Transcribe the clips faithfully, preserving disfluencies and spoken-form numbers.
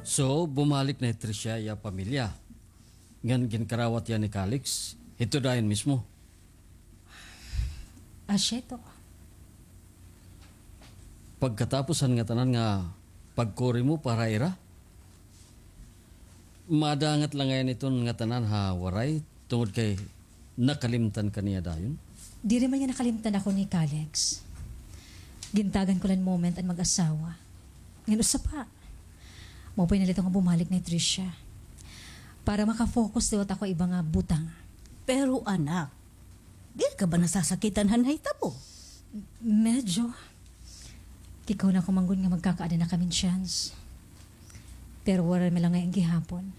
So, bumalik na hi Tricia ha iya pamilya. Ngan ginkarawat hiya ni Calix, hito dayon mismo. Asya ito. Pagkatapos han ngatanan nga pagkuri mo para ira, madangat la ngay-an iton ngatanan ha Waray tungod kay nakalimtan ka niya dayon? Diri man niya nakalimtan ako ni Calix. Gintagan ko la hin moment an mag-asawa. Ngan usa pa, maupay na la ito nga bumalik na hi Tricia para maka-focus liwat ako ha iba nga butang. Pero, anak, diri ka ba nasasakitan han nahitabo? Medyo. Kikuna ko man gud nga magkakaada na kami hin chance. Pero waray man la ngay-an gihapon.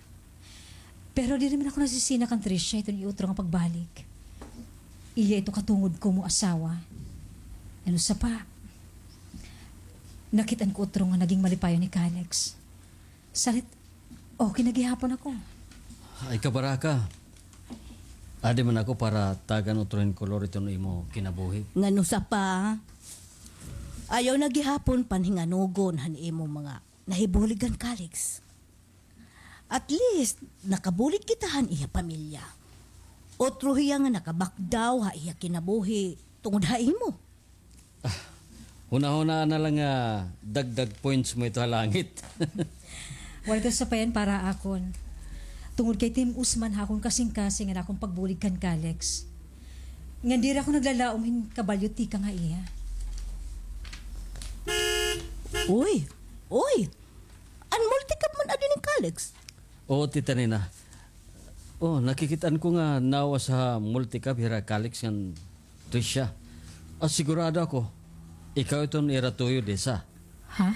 Pero diri man ako nasisina kan Tricia hiton iya utro nga pagbalik. Iya ito katungod ko mo asawa. Ngan usa pa, nakit-an ko utro nga naging malipayon hi Calix. Salit, okay na gihapon ako. Ay, kabaraka. Adi man ako para tagan utro hin kolor iton imo kinabuhi. Ngan usa pa, ayaw na gihapon panhinganugon han imo mga nahibulig kan Calix. At least, nakabulig kita han iya pamilya. Utro hiya nga nakabakdaw ha iya kinabuhi tungod ha imo. Ah, hunahunaa na la nga dagdag points mo ito ha langit. Waray ito sapayan para ha akon. Tungod kay tim-os man ha akon kasingkasing an akon pagbulig kan Calix. Ngan diri ako naglalaom hin kabalyo tikang ha iya. Uy! Uy! An multicab man adi ni Calix? Oo, Tita Nena. Oh, nakikit-an ko nga nawas ha multicab hira Calix ngan Tricia. Ah, sigurado ako, ikaw iton ira tuyo, Desa. Ha?